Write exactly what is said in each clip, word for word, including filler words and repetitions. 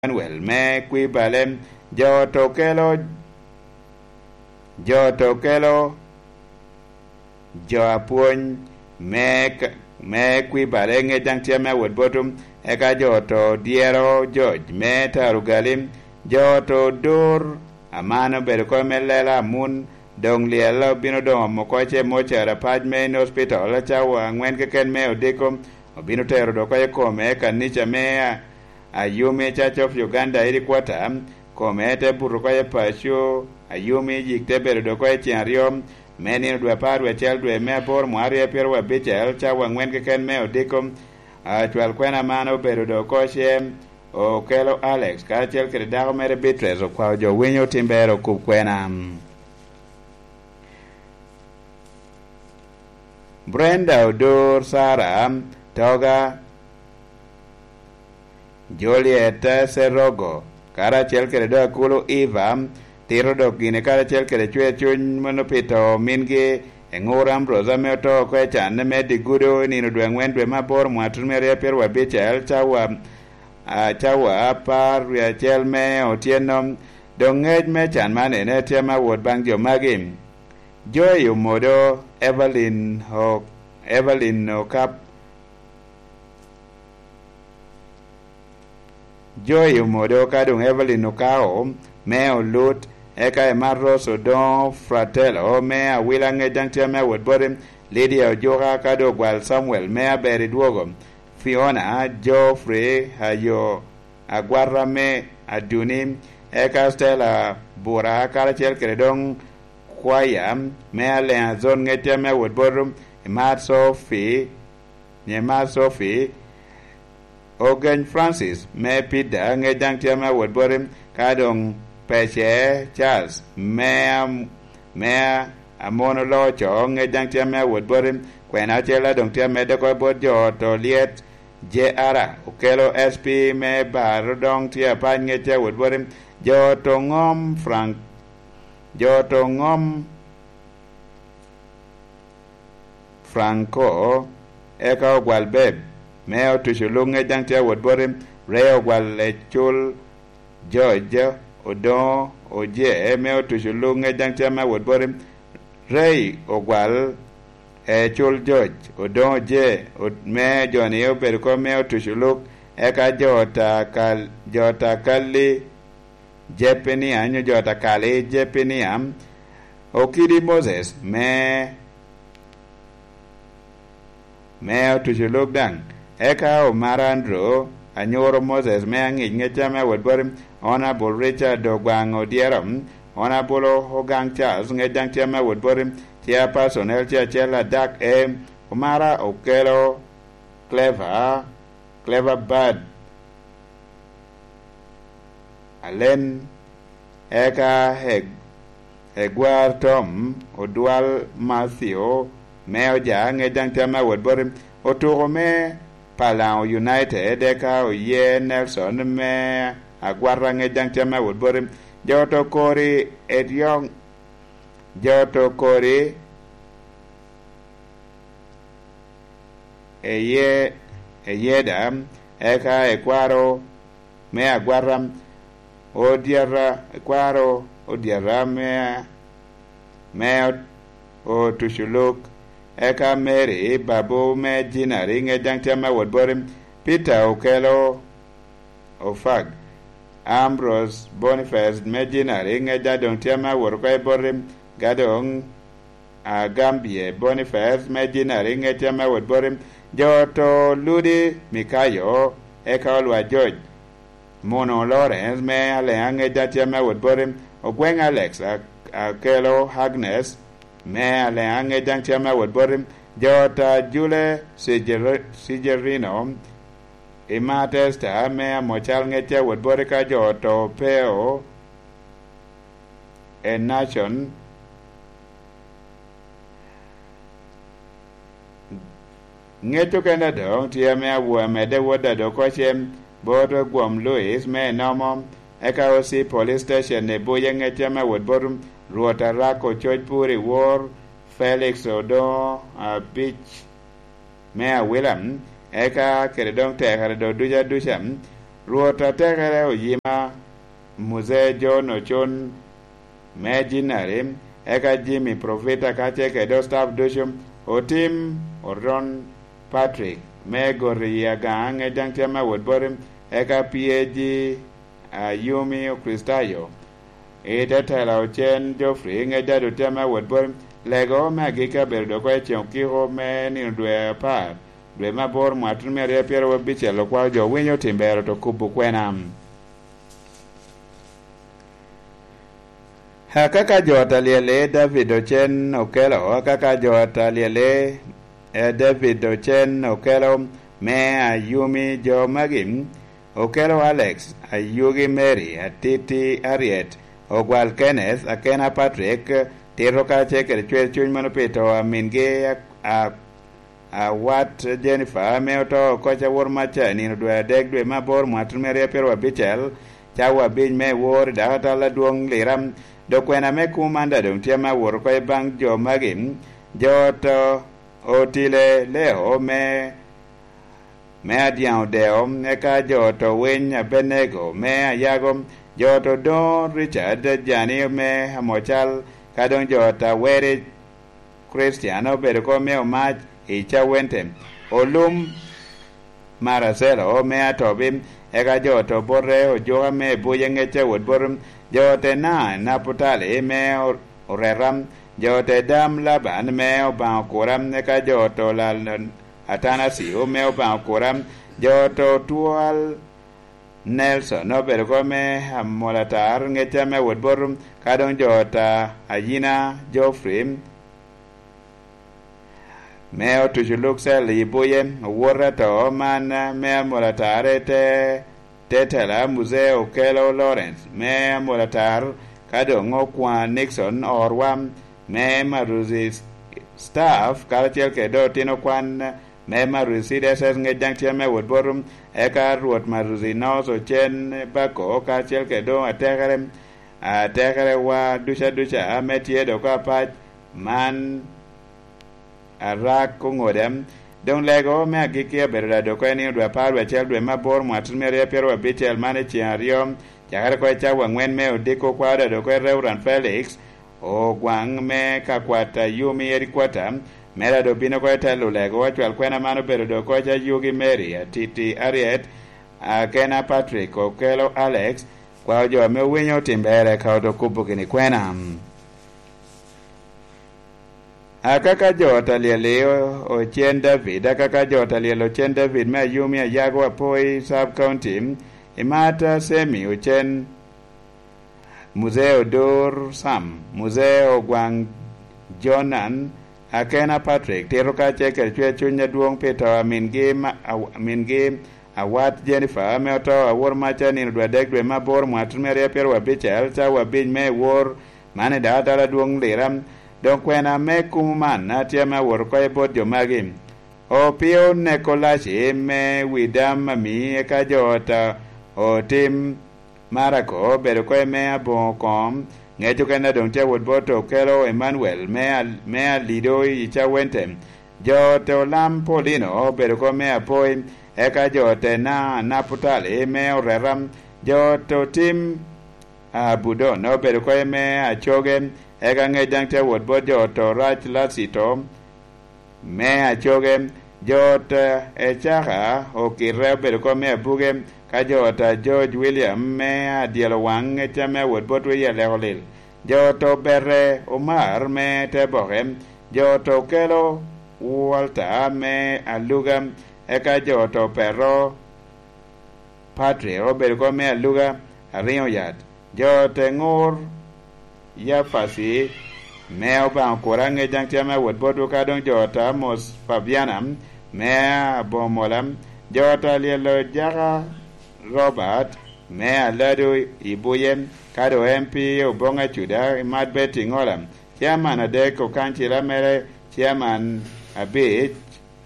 Emmanuel me Kwibale, jo to kelo, jo to kelo jo apwony me, me Kwibale, ŋec daŋ tye me awot botum, eka jo to dyero George me Tarugali, jo to dur, aman obedo kop me lela amun, doŋ lyel obino doŋ omo oko ce mocara pac me in hospital, cawa aŋwen keken me odiko, obino tero dok oko i kome kanica me a-, Ayumi Church of Uganda headquarter, kome te buto oko i paco, Ayumi yik te bedo dok oko i ceng aryo me nino dwe apar dwe acel dwe me aboro mwa aryo pyeraryo abicel, cawa aŋwen keken me odiko. Acwal kwena man obedo dok oko ce, Okelo Alex karacel kede dako mere Beatrice okwao jo winyo tim ber okub kwena. Brenda Odur, Sara Toga, Juliet Serogo, karacel kede dok akulu Eva, tito dok gini karacel kede cwer cuny mano pi to mingi, Eŋur Ambrose ame oto oko i can me Digudo i nino dwe aŋwen dwe me aboro mwa tutumere pyeraryo abicel, cawa, a, cawa apar wie acel me otyeno. Doŋ ŋec me can man ene tye me awot baŋ jo magi. Joy Omodo, Evelyn O-, Evelyn Okap, Joy Omodo ka doŋ Evelyn Okao me Olut, eka Emma Rose Odoŋo Fratello me Awila ŋec daŋ tye me awot boti, Lydia Ojuka ka doŋ Ogwal Samuel me Aber Idwogo, Fiona, Geoffrey Ayo Agwata me Aduni, eka Stella Bura karacel kede doŋ kwaya me Aleŋa Zone ŋec tye me awot boti, Emma Sophie, Nyema Sophie, Ogeny Francis me Pida ŋec daŋ tye me awot boti, ka doŋ Pece Charles me am-, me Amono Loco ŋec daŋ tye me awot boti, kwena acel a doŋ tye amedde oko bot jo to lyet, J R Okelo S P me Baro doŋ tye apac ŋec tye awot boti, jo to ŋom Frank, jo to ŋom Franco, eka Ogwal Beb me Otuco Luk ŋec daŋ tye awot boti, Ray Ogwal Ecul George Odoŋo Oje me Otuco Luk ŋec daŋ tye me awot boti, Ray Ogwal Ecul George Odoŋo Oje o-, me joni obedo kop me Otuco Luk, eka jo ta kal-, jo ta kalli Jepenia, nyo jo ta kali Jepenia, Okidi Moses me, me Otuco Luk daŋ, eka Omara Andrew, anyuro Moses me Aŋic ŋec tye me awot boti, Honorable Richard Ogwaŋ Odyero, Honorable Ogaŋ Charles ŋec daŋ tye me awot boti, Chairperson L C acel adak e Omara Okelo Clever, Clever Bad, Alen, eka Eg-, Egwar Tom, Odwal Matthew me Oja, ŋec daŋ tye me awot boti, Otuko me Palaŋo United, eka Oye Nelson me Agwata, ŋec daŋ tye me awot boti, jo to kori Edyong, jo to kori Eye-, Eyeda, eka Ekwaro me Agwata, Odyata, Ekwaro Odyata me, me Ot-, Otuculuk, eka Mary Babu me Jinari, ŋec daŋ tye me awot boti, Peter Okelo, Ofag, Ambrose Boniface me Jinari, ŋec daŋ doŋ tye me awot oko i boti, ka doŋ Agambye Boniface me Jinari, ŋec tye me awot boti, jo to Ludi Mikayo, eka Olwa George, Muno Lawrence me Aleŋa, ŋec daŋ tye me awot boti, Ogweng Alex, A-, Akelo Agnes me Aleŋa, ŋec daŋ tye me awot boti, jo ta Jule Sijeri-, Sijerino, Ima Testa me Amocal, ŋec tye awot boti, ka jo to Peo, Enacon, ŋec okene doŋ tye ame awo-, amedde wot a dok ocem, bot Ogwom Louis me Enomo, eka O C Police Station i Buye, ŋec tye ame awot bot Rwot Arako Coc Pur i Wor, Felix Odoŋo Abic me Awila, eka kede doŋ tekere doŋ duca duca, Rwot atekere oyima, Muzee John Ocon me Jinari, eka Jimmy Profita kacel kede staff ducu, Otim Oron Patrick me Goti i Agaŋa, ŋec daŋ tye me wot boti, eka P A G Ayumi Okricitayo, i te tela Ocen Geoffrey, ŋec daŋ tye me wot boti. Lego me agikki abedo dok oko i ceŋ okiko me nino dwe apar, dwe me aboro, mwaka tuno me aryo pyeraryo abicel, okwao jo winyo tim bero to kubo kwena. Akaka jo a talyele David Ocen Okelo, akaka jo a talyele, eh, David Ocen Okelo me Ayumi, jo magi: Okelo Alex, Ayugi Mary, Atiti Ariet, Ogwal Kenneth, Akena Patrick, Tito kacel kede Cwer Cuny mano pi to a mingi a, a, Awat Jennifer ame oto oko cawa woro maca i nino dwe adek, dwe me aboro, mwaka tuno me aryo pyeraryo abicel, cawa abic me wor i dakatal adwoŋ Lira. Dok kwena me kumo man daŋ doŋ tye ame awot oko i baŋ jo magi: jo oto Otile Leo me, me Adyaŋ Odeo, eka jo oto Winy Abenego me Ayago, jo oto Don Richard Jani me Amocal, ka doŋ jo oto Aweri Kricitian obedo oko me Omac i Cawente, Olum Maracelo me Atobi, eka jo oto Bote Ojuka me Ebuc, ŋec a wot bot jo oto Ena Naputali me Or-, Oreta, jo oto Dam Laban me Obaŋa Okura, eka jo oto Lal Atanasio me Obaŋa Okura, jo oto Twal Nelson obedo oko me Amolatar, ŋec a me wot bot, ka doŋ jo oto Ayina Geoffrey me Otuco Luksel i Buye, owot ato man me Amolatar i te, te tela Muzee Okelo Lawrence me Amolatar, ka doŋ Okwaŋ Nixon Orwa me Maruzi Staff, karacel kede otino kwan me Maruzi C D S S, ŋec daŋ tye me wot bot, eka Rwot Maruzi North Ocen Bako, karacel kede doŋ atekere, atekerewa ducu aduca ame tye dok apac man arak oŋoda. Doŋ lego me agikki abedo daŋ dok oko i nino dwe apar dwe acel, dwe me aboro, mwaka tuno me aryo pyeraryo abicel, man i ceŋ aryo, cakere oko i cawa aŋwen me odiko, okwao daŋ dok oko i Reverend Felix Ogwaŋ me Kakwat Ayumi Headquarter, me daŋ dok bino oko i telo lego. Acwal kwena man obedo dok oko i Ayugi Mary, Atiti Ariet, Akena Patrick, Okelo Alex, kwao jo ame owinyo otim ber eka oto kubo gini kwena. Akaka jo ot alyel i o-, Ocen David, akaka jo ot alyel Ocen David me Ayumi Ayago Apoi Sub County, Imata Semi Ocen, Muzee Odur Sam, Muzee Ogwaŋ Jonan, Akena Patrick, Tito kacel kede Cwer Cuny adwoŋ pi to a mingi ma-, a-, mingi Awat Jennifer ame oto awor maca nino dwe adek dwe me aboro mwaka tuno me aryo pyeraryo abicel, cawa abic me wor, man i dakatal adwoŋ Lira. Doŋ kwena me kumo man atye ame awot oko i bot jo magi. Opio Nekolaci me Widam Ami, eka jo ot a Otim Marako obedo oko i me aboŋo koŋ, ŋec okene doŋ tye awot bot Okelo Emmanuel me Al-, me Alido i Cawente. Jo ot Olam Paulino obedo oko me Apoi, eka jo ot Ena Naputali me Oreta, jo ot Otim Abudon obedo oko i me Acoge, eka ŋec daŋ tye awot bot jo ot Orac Lacito me Acoge, jo ot Ecaka Okite obedo oko me Abuge, ka jo ot George William me Adyelo Waŋ, ŋec a me awot bot Wiyalek Olil, jo ot Obere Omar me Teboke, jo ot Okelo Walter me Aluga, eka jo ot Opero Patrick obedo oko me Aluga Ariŋo Yat. Jo ot Eŋur Yapaci me Obaŋa Okura, ŋec daŋ tye ame awot botwu, ka doŋ jo ot Amos Fabiana me Aboŋo Mola, jo ot Alyelo Jaka Robert me Alado i Buye, ka doŋ M P Oboŋa Cuda, Imat Betty Ŋola, Chairman adek okancila mere, Chairman abic,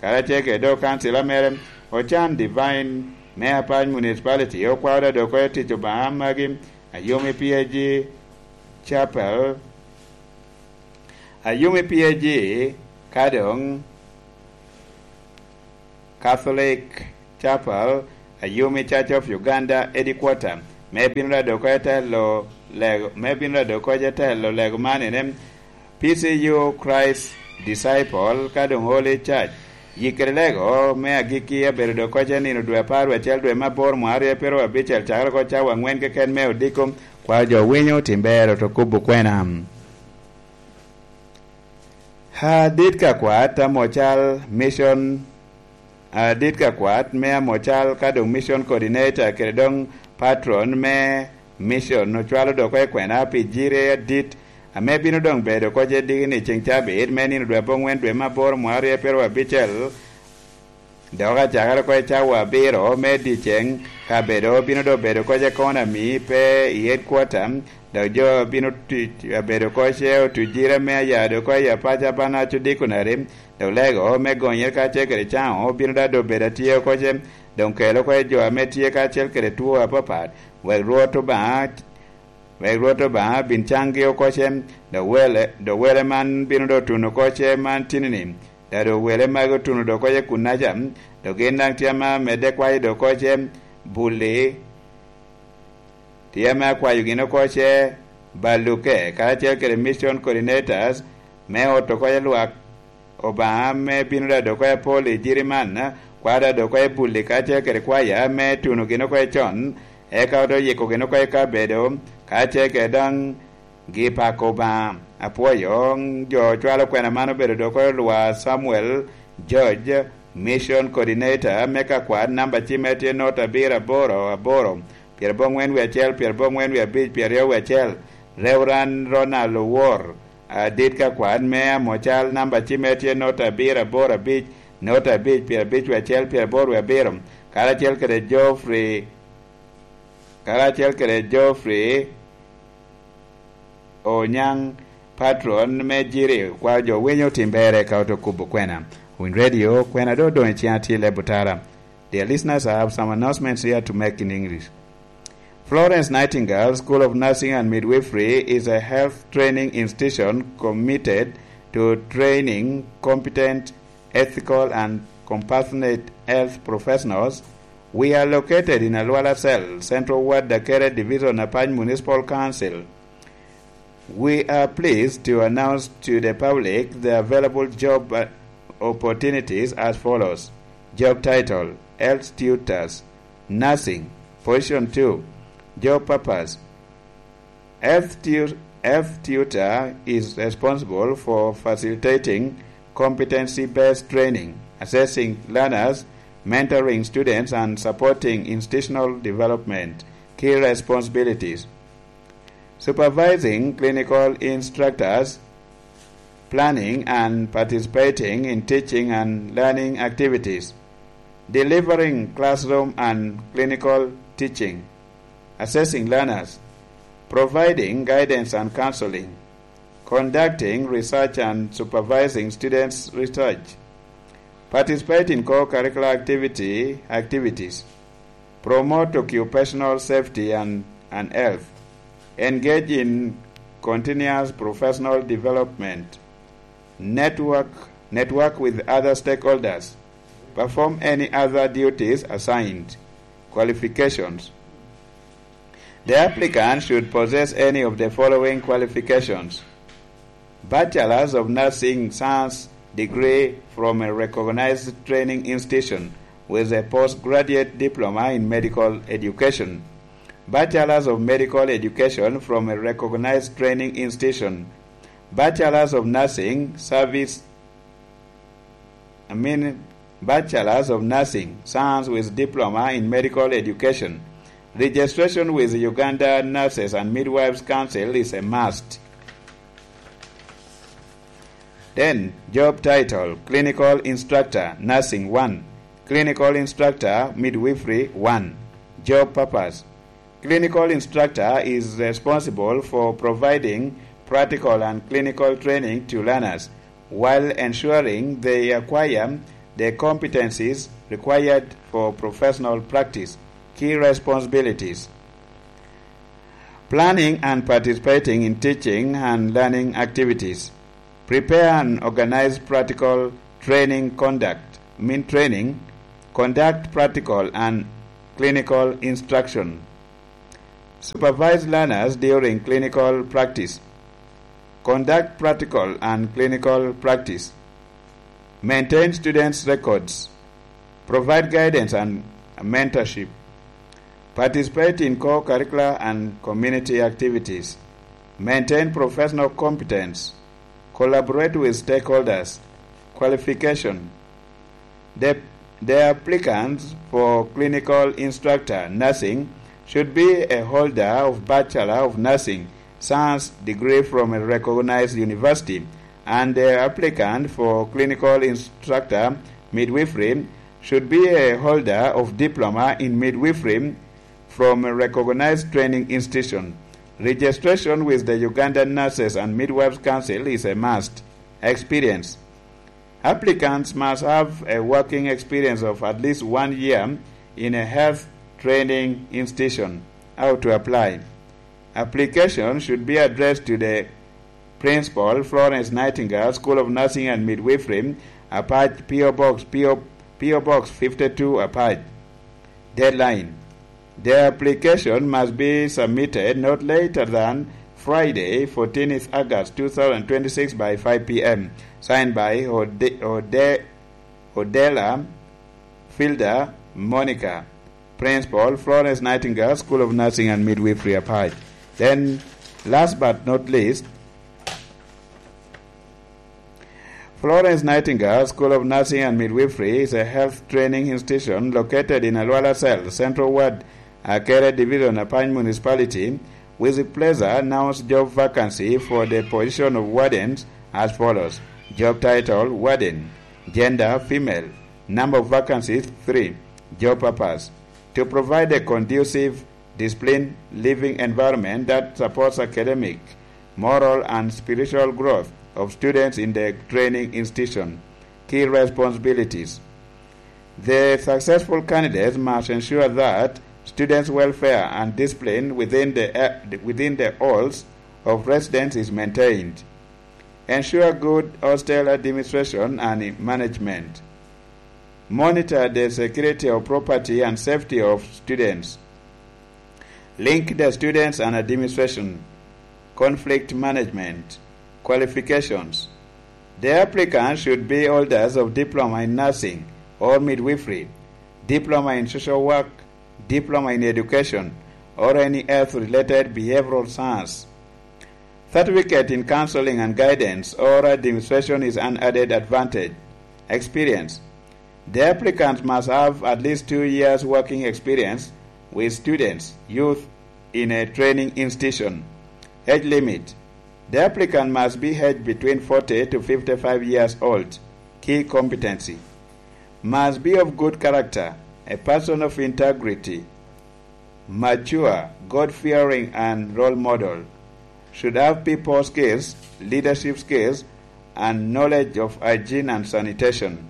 karacel kede doŋ kancila mere, Ocan Divine me Apac Municipality, okwao daŋ dok oko i tic Obaŋa magi, Ayumi P A G Chapel, Ayumi P A G, ka doŋ Catholic Chapel, Ayumi Church of Uganda Headquarter, me bino rado oko i telo lego, me bino rado oko i telo lego man ene, P C U Christ Disciple, ka doŋ Holy Church. Yikkere lego me agikki abedo doŋ oko i nino dwe apar wie acel dwe me aboro mwaka aryo pyeraryo abicel, cakere oko cawa aŋwen keken me odiko, kwa jo winyo tim ber oto kubo kwena. Adit ka kwat amocal mission, adit ka kwat me amocal ka doŋ mission coordinator kede doŋ patron me mission ocwalo doŋ oko i kwena pi jiri adit ame bino doŋ bedo oko i diki ni ceŋ cabit me nino dwe aboŋwen dwe me aboro mwaka aryo pyeraryo abicel. Dok acakere oko i cawa abiro me dyeceŋ, kabedo bino doŋ bedo oko i economy pe i headquarter, dok jo bino tu-, bedo oko i otujire me aya doŋ oko i apac abanac odiko nari, dok lego me gonyere kacel kede caŋo bino daŋ doŋ bedo atye oko i, doŋ kelo oko i jo ame tye kacel kede two apapat, wek Rwot Obaŋa wek Rwot Obaŋa bin caŋgi oko i, dok wele, dok wele man bino doŋ tuno oko i man tini-ni, dok doŋ wele magi otuno doŋ oko i kunnaca, dok gin daŋ tye ame amedde kwayo doŋ oko i bulli, tye ame akwayo gin oko i baluke, karacel kede mission coordinators, me oto oko i lwak Obaŋa ame bino daŋ doŋ oko i apol i jiri man, kwa daŋ doŋ oko i bulli kacel kede kwaya ame tuno gin oko i con, eka ote yiko gin oko i kabedo, kacel kede daŋ gi pako Obaŋa. Apwoyo jo ocwalo kwena man obedo doŋ oko i Lwa Samuel George, Mission Coordinator me kakwat, namba cimme tye not abiro aboro aboro, pyerabongwen wie acel, pyerabongwen wie abic, pyeraryo wie acel, Reverend Ronald Owor, adit kakwat me amocal, namba cimme tye not abiro aboro abic, not abic, pyerabic wie acel, pyeraboro wie abiro, karacel kede Geoffrey, karacel kede Geoffrey Onyaŋ, patron me jiri, kwa jo winyo tim bere ka oto kubo kwena. Win Radio, kwena do doŋ i ciŋ atil e butara. Dear listeners, I have some announcements here to make in English. Florence Nightingale School of Nursing and Midwifery is a health training institution committed to training competent, ethical, and compassionate health professionals. We are located in Alwala Cell, Central Ward, Dakere Division, Apac Municipal Council. We are pleased to announce to the public the available job, uh, opportunities as follows. Job title: Health Tutors, Nursing, Position two. Job purpose: Health tu-, health tutor is responsible for facilitating competency-based training, assessing learners, mentoring students, and supporting institutional development. Key responsibilities: supervising clinical instructors, planning and participating in teaching and learning activities, delivering classroom and clinical teaching, assessing learners, providing guidance and counseling, conducting research and supervising students' research, participate in co-curricular activity, activities, promote occupational safety and, and health, engage in continuous professional development, network, network with other stakeholders, perform any other duties assigned. Qualifications. The applicant should possess any of the following qualifications: Bachelor's of Nursing Science degree from a recognized training institution with a postgraduate diploma in medical education. Bachelor's of Medical Education from a recognized training institution. Bachelor's of Nursing Service, I mean, Bachelor's of Nursing Science with diploma in medical education. Registration with Uganda Nurses and Midwives Council is a must. Then, job title: Clinical Instructor, Nursing one, Clinical Instructor, Midwifery one. Job purpose: Clinical instructor is responsible for providing practical and clinical training to learners while ensuring they acquire the competencies required for professional practice. Key responsibilities: planning and participating in teaching and learning activities, prepare and organize practical training conduct, mean training, conduct practical and clinical instruction. Supervise learners during clinical practice. Conduct practical and clinical practice. Maintain students' records. Provide guidance and mentorship. Participate in co-curricular and community activities. Maintain professional competence. Collaborate with stakeholders. Qualification. The, the applicants for clinical instructor nursing should be a holder of Bachelor of Nursing Science degree from a recognized university, and the applicant for clinical instructor midwifery should be a holder of diploma in midwifery from a recognized training institution. Registration with the Ugandan Nurses and Midwives Council is a must. Experience. Applicants must have a working experience of at least one year in a health training institution. How to apply? Application should be addressed to the Principal, Florence Nightingale, School of Nursing and Midwifery, Apac, P O Box, P O, P O Box fifty-two, Apac. Deadline. The application must be submitted not later than Friday, fourteenth August two thousand twenty-six, by five p m. Signed by Ode-, Ode-, Odela Filda Monica, Principal, Florence Nightingale School of Nursing and Midwifery, Apac. Then, last but not least, Florence Nightingale School of Nursing and Midwifery is a health training institution located in Alwala Cell, Central Ward, Akere Division, Apac Municipality. With pleasure announce job vacancy for the position of wardens as follows. Job title, warden. Gender, female. Number of vacancies, three. Job purpose: to provide a conducive, disciplined living environment that supports academic, moral, and spiritual growth of students in the training institution. Key responsibilities. The successful candidates must ensure that students' welfare and discipline within the, uh, within the halls of residence is maintained. Ensure good hostel administration and management. Monitor the security of property and safety of students. Link the students and administration. Conflict management. Qualifications. The applicant should be holders of diploma in nursing or midwifery, diploma in social work, diploma in education, or any health-related behavioral science. Certificate in counseling and guidance or administration is an added advantage. Experience. The applicant must have at least two years working experience with students, youth in a training institution. Age limit. The applicant must be aged between forty to fifty-five years old. Key competency. Must be of good character, a person of integrity, mature, God-fearing, and role model. Should have people skills, leadership skills, and knowledge of hygiene and sanitation.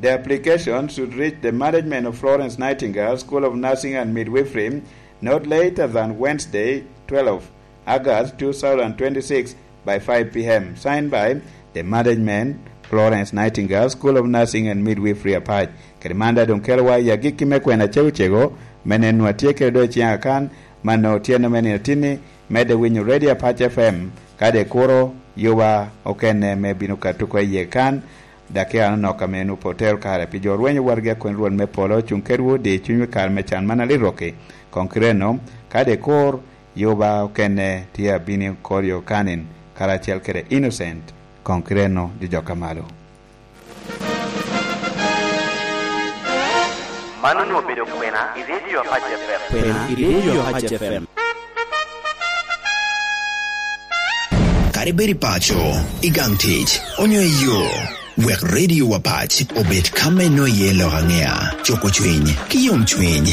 The application should reach the management of Florence Nightingale School of Nursing and Midwifery not later than Wednesday, twelve August two thousand twenty-six, by five p m. Signed by the management, Florence Nightingale School of Nursing and Midwifery, Apac. Kede man daŋ doŋ kelowa i agikki me kwena cegocego, me neno a tye kede doŋ i ciŋ akan, mano otyeno me nino atinni, medde winyo Radio Apac F M, kadi ikuro yuba okene me bino ka tuko iye kan, dakika anonok ame en otero kare pi jo rwenyo wargi a kwena Rwot me polo cuŋ kedwu di cunywu i kare me can man alirroki. Koŋ kireno, kadi ikur yuba okene tye abino i kor yo kanin, karacel kede Innocent, koŋ kireno di jo ka malo. Man onwoŋo obedo kwena i Radio Apac F M. Kwena i Radio Apac F M. Kadi bed i paco, i gang tic, onyo i yo, wek Radio Apac obed ka me nwoŋo iye lok aŋea, cuko cwiny, ki yom cwiny.